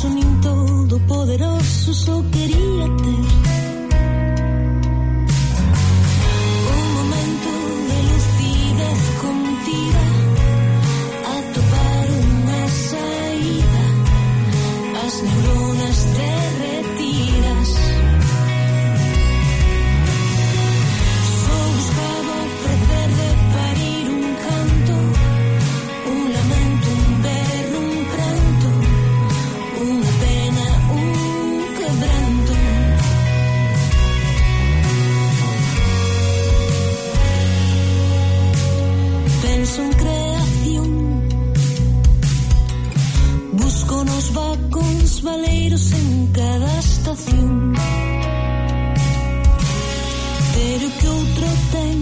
poderoso nin todo poderoso só quería ter un momento de lucidez contida, atopar unha saída, as neuronas derretidas. Só buscaba o prazer de parir un canto, un lamento, un berro, un pranto, unha pena, un quebranto. Penso en creación, busco nos vacóns valeiros en cada estación, pero que outro ten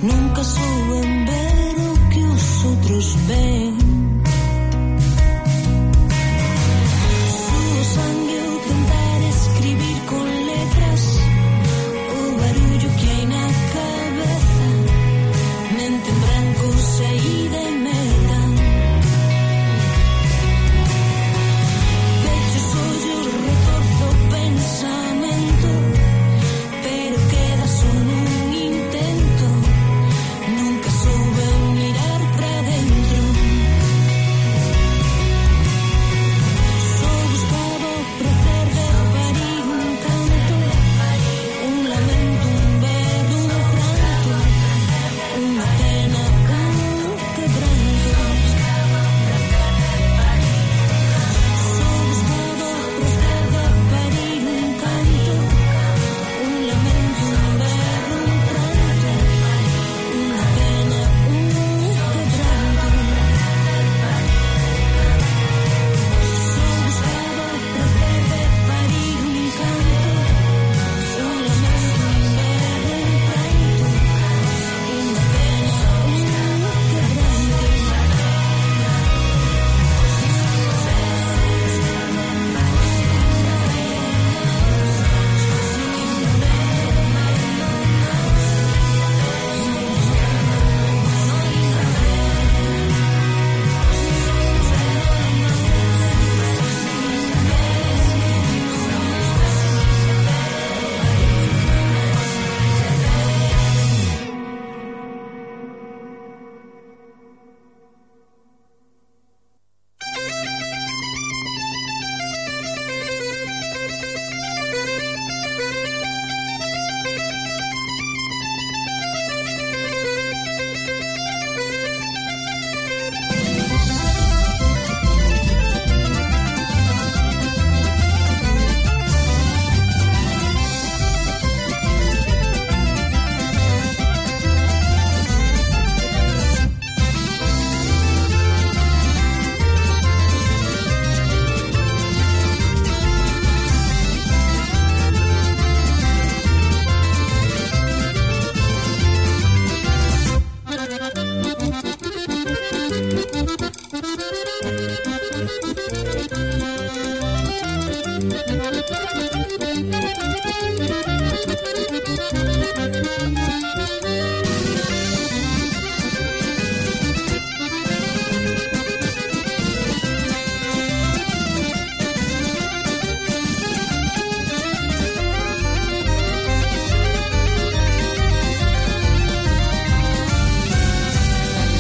nunca souben ver o que os outros ven. Suo sangue o tentar escribir con letras o barullo que hai na cabeza, mente en branco, saída e meta. Pecho os ollos, retorzo o pensamento, pero queda só nun intento, nunca soube mirar pra dentro. Só buscaba o prazer de parir un canto, un lamento, un berro, un pranto, unha pena, un quebranto. Só buscaba o prazer de parir un canto, un lamento, un berro, un pranto, unha pena, un quebranto. Só buscaba o prazer de parir un canto, un lamento, un berro, un pranto, unha pena,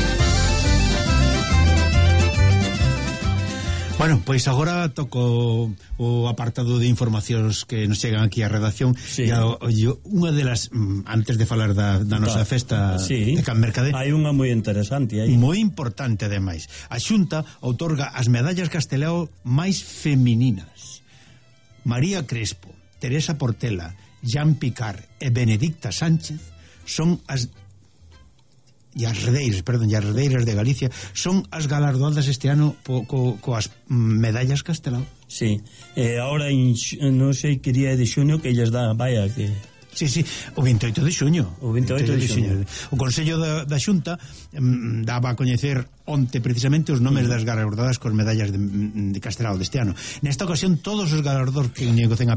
un Bueno, pois agora toco o apartado de informacións que nos chegan aquí á redacción. Sí. E unha delas, antes de falar da nosa festa de Can Mercade, hai unha moi interesante aí, moi importante ademais. A Xunta outorga as medallas Castelao máis femininas. María Crespo, Teresa Portela, Jean Picard e Benedicta Sánchez son as Redeiras de Galicia son as galardoadas este ano coas medallas Castelao. Sí, ahora non sei que día de xuño que ellas dan, vaya que... Sí, o 28 de xuño. O 28 de xuño. O Consello da Xunta daba a coñecer onte precisamente os nomes das galardoadas con medallas de Castelao deste ano. Nesta ocasión todos os galardoados que negocen a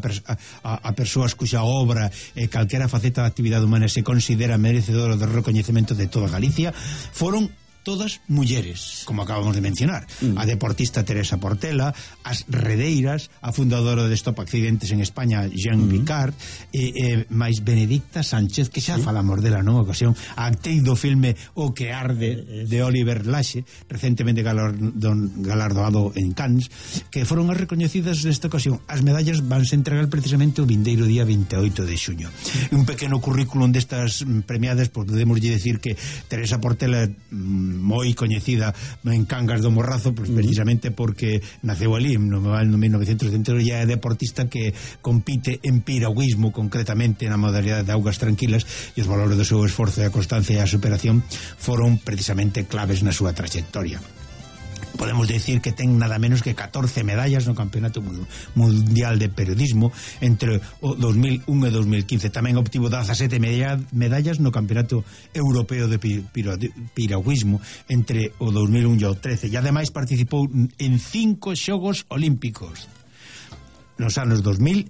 persoas cuxa obra e calquera faceta da actividade humana se considera merecedora do recoñecemento de toda Galicia foron todas mulleres, como acabamos de mencionar. A deportista Teresa Portela, as redeiras, a fundadora de Stop Accidentes en España, Jean Picard, máis Benedicta Sánchez, que xa falamos dela nunha ocasión, a actriz do filme O que arde, de Oliver Laxe, recentemente galardoado en Cannes, que foron as recoñecidas nesta ocasión. As medallas vanse entregar precisamente o vindeiro día 28 de xuño. Un pequeno currículum destas premiadas, pues, podemos decir que Teresa Portela moi coñecida en Cangas do Morrazo, pues, precisamente porque naceu ali no 1970, e é deportista que compite en piragüismo, concretamente na modalidade de augas tranquilas, e os valores do seu esforzo e a constancia e a superación foron precisamente claves na súa trayectoria. Podemos decir que ten nada menos que 14 medallas no Campeonato Mundial de Periodismo entre o 2001 e 2015. Tamén obtivo 17 medallas no Campeonato Europeo de Piragüismo entre o 2001 e o 13, e ademais participou en 5 Xogos Olímpicos nos anos 2000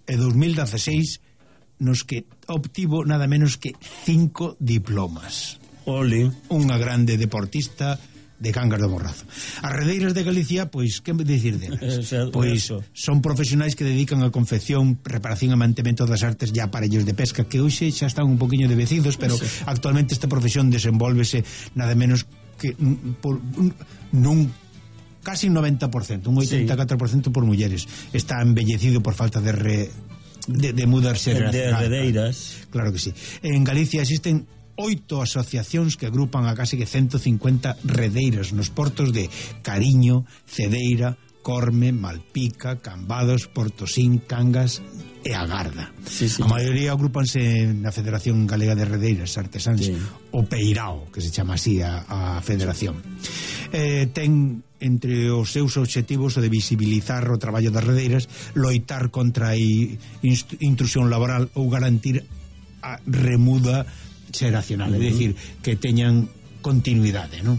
e 2016, nos que obtivo nada menos que 5 diplomas. Ole. Unha grande deportista de Cangas do Morrazo. As redeiras de Galicia, pois, que decir delas? Pois son profesionais que dedican a confección, reparación e mantemento das artes e aparellos de pesca, que hoxe xa están un poquinho devecidos, pero actualmente esta profesión desenvólvese nada menos que nun casi un 90%, un 84% por mulleres. Está embellecido por falta de mudarse de redeiras. Claro que sí. En Galicia existen 8 asociacións que agrupan a casi que 150 redeiras nos portos de Cariño, Cedeira, Corme, Malpica, Cambados, Portosín, Cangas e Agarda. A maioría agrupanse na Federación Galega de Redeiras Artesáns, o Peirao, que se chama así a federación. Ten entre os seus obxectivos o de visibilizar o traballo das redeiras, loitar contra a intrusión laboral ou garantir a remuda xeracional, é dicir, que teñan continuidade, non?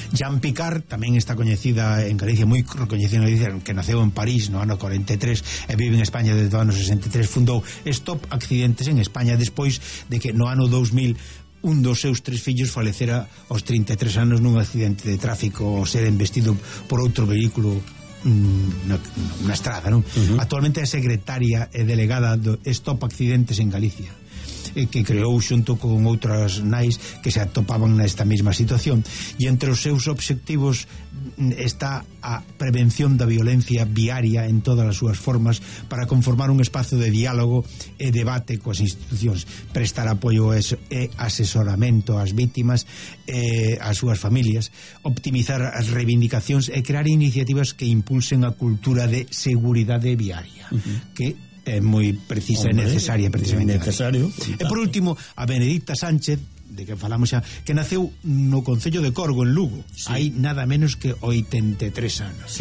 Jean Picard tamén está coñecida en Galicia, moi recoñecida en Galicia, que naceu en París no ano 43 e vive en España desde o ano 63. Fundou Stop Accidentes en España despois de que no ano 2000 un dos seus 3 fillos falecera aos 33 anos nun accidente de tráfico ao ser embestido por outro vehículo na estrada, non? Actualmente é secretaria e delegada do Stop Accidentes en Galicia, que creou xunto con outras nais que se atopaban nesta mesma situación, e entre os seus obxectivos está a prevención da violencia viaria en todas as súas formas, para conformar un espazo de diálogo e debate coas institucións, prestar apoio e asesoramento ás vítimas e ás súas familias, optimizar as reivindicacións e crear iniciativas que impulsen a cultura de seguridade viaria, que é moi precisa e necesaria precisamente. E por último, a Benedicta Sánchez, de que falamos xa, que naceu no concello de Corgo, en Lugo, hai nada menos que 83 anos.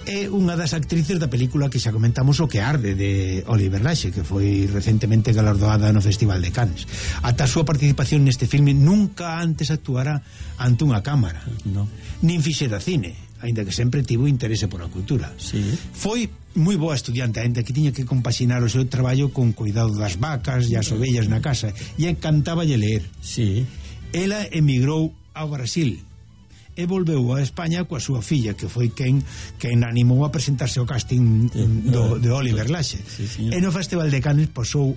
É unha das actrices da película que xa comentamos, O que arde, de Oliver Laxe, que foi recentemente galardoada no Festival de Cannes. Ata a súa participación neste filme nunca antes actuara ante unha cámara, nin fixera cine, aínda que sempre tivo interese por a cultura. Foi moi boa estudiante, aínda que tiña que compaxinar o seu traballo con cuidado das vacas e as ovellas na casa, e encantáballe ler. Ela emigrou ao Brasil e volveu a España coa súa filla, que foi quen animou a presentarse ao casting de Oliver Laxe. E no Festival de Cannes posou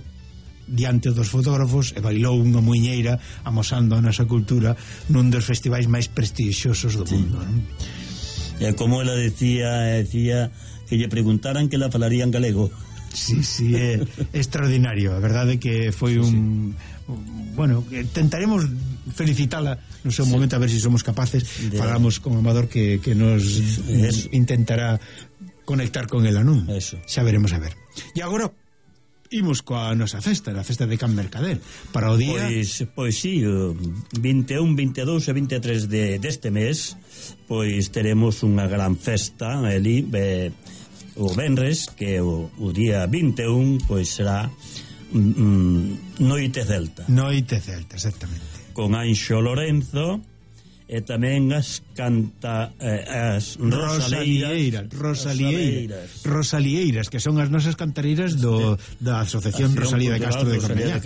diante dos fotógrafos e bailou unha muiñeira amosando a nosa cultura nun dos festivais máis prestixiosos do mundo, non? E como ela decía que lle preguntaran que la falaría en galego. É extraordinario. A verdade que foi bueno, tentaremos felicitala no seu momento, a ver se somos capaces. Falamos con Amador que nos intentará conectar con ela, non? Xa veremos a ver. E agora imos coa nosa festa, a festa de Can Mercader, para o día... Pois sí, 21, 22 e 23 deste mes, pois teremos unha gran festa ali, o venres, que o día 21, pois será Noite Celta. Noite Celta, exactamente. Con Anxo Lorenzo e tamén as Rosalieiras, que son as nosas cantareiras da Asociación Rosalía de Castro de Cornellá,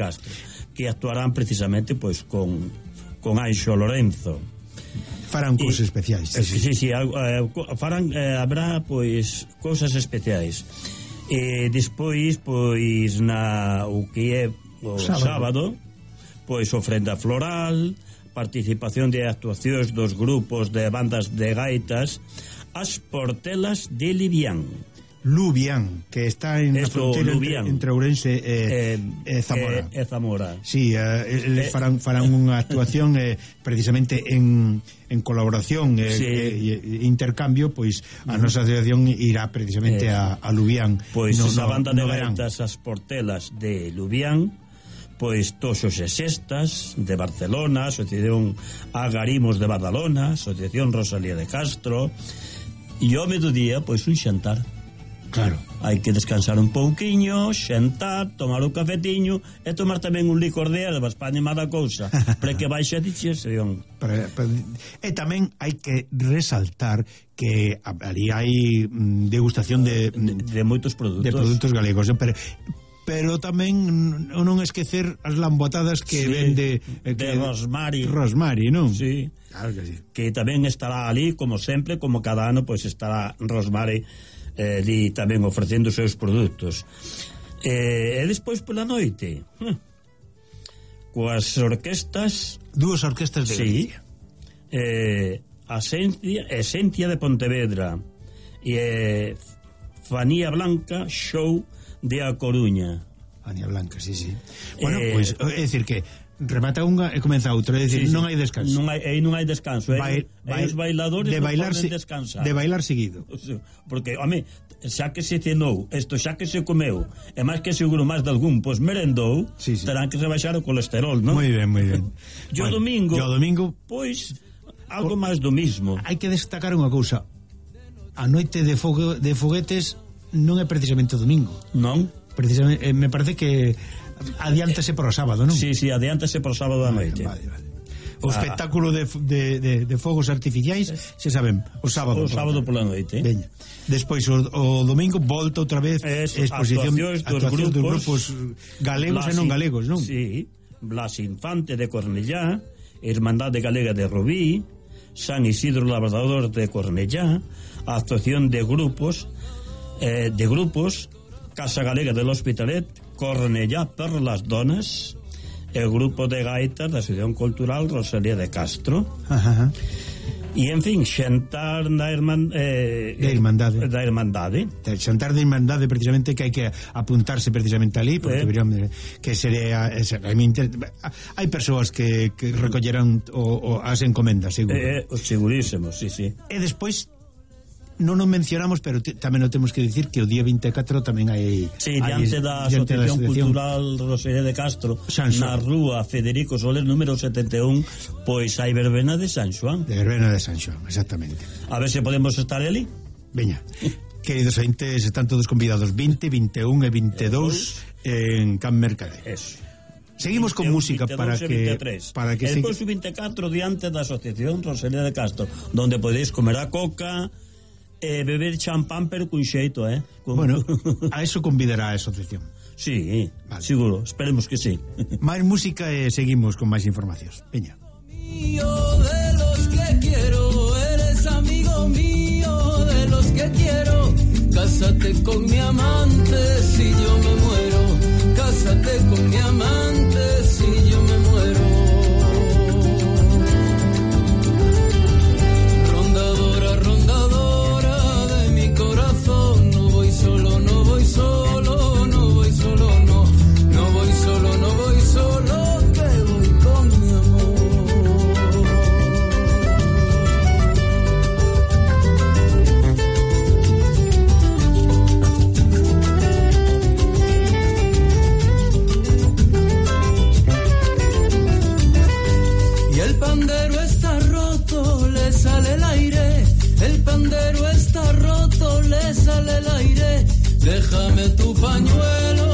que actuarán precisamente pois con con Anxo Lorenzo. Farán cousas especiais. Sí, farán, habrá pois cousas especiais. E despois pois o que é o sábado pois ofrenda floral, participación de actuacións dos grupos de bandas de gaitas, as Portelas de Lubián, que está en a fronteira entre Ourense e Zamora. Zamora. Sí, eles farán unha actuación precisamente en colaboración e intercambio, pois a nosa asociación irá precisamente a Lubián. Pois esa banda de gaitas, as Portelas de Lubián, pois Toxos e Sextas de Barcelona, Asociación Agarimos de Badalona, Asociación Rosalía de Castro, e ao mediodía pois un xantar. Claro. Hai que descansar un pouquiño, xantar, tomar un cafetiño e tomar tamén un licor de ervas para animar a cousa, para que baixe a digestión. E tamén hai que resaltar que ali hai degustación de moitos produtos. De produtos galegos, pero tamén non esquecer as lambotadas que vende de Rosmari, non? Sí. Claro que sí. Que tamén estará ali, como sempre, como cada ano, pois estará Rosmari ali tamén ofrecendo os seus produtos. E despois pola noite coas orquestas, dúas orquestas de Galicia, Esencia de Pontevedra e Fanía Blanca Show de A Coruña. Fanía Blanca, sí. Bueno, pois é dicir que remata unha e comeza outra, é dicir, non hai descanso. Non hai descanso, os bailadores de bailar non poden descansar. De bailar seguido. Porque, home, xa que se cenou, xa que se comeu, e máis que seguro máis de algún, pois merendou, terán que rebaixar o colesterol, non? Moi ben. E o domingo, pois, algo máis do mismo. Hai que destacar unha cousa. A noite de foguetes non é precisamente o domingo. Non? Precisamente, me parece que adiántase para o sábado, non? Sí, adiántase para o sábado da noite. Vale. O espectáculo de fogos artificiais, se saben, o sábado pola noite. Veña. Despois o domingo volta outra vez exposición actuacións dos grupos galegos e non galegos, non? Sí, Blas Infante de Cornellá, Hermandade Galega de Rubí, San Isidro Labrador de Cornellá, a actuación de grupos Casa Galega del Hospitalet, Cornellá per las Donas, el grupo de gaitas da Asociación Cultural Rosalía de Castro. E, en fin, xantar da Irmandade. Xantar da Irmandade, precisamente, que hai que apuntarse precisamente ali, porque que sería... hai persoas que recollerán as encomendas, seguro. Segurísimo, sí. E despois non o mencionamos, pero tamén o temos que dicir que o día 24 tamén hai... Sí, diante da Asociación Cultural Rosalía de Castro, na rúa Federico Soler número 71, pois hai verbena de San Xoán. De verbena de San Xoán, exactamente. A ver se podemos estar ali. Veña, queridos ointes, están todos convidados 20, 21 e 22 en Can Mercader. Eso. Seguimos con música para que e despois o 24 diante da Asociación Rosalía de Castro, donde podeis comer a coca beber champán, pero cun xeito, Bueno, a eso convidará a asociación. Sí, vale. Seguro, esperemos que sí. Máis música e seguimos con máis informacións. Veña. De los que quiero, eres amigo mío, de los que quiero. Cásate con mi amante si yo me muero. Cásate con mi amante si yo me muero. Déjame tu pañuelo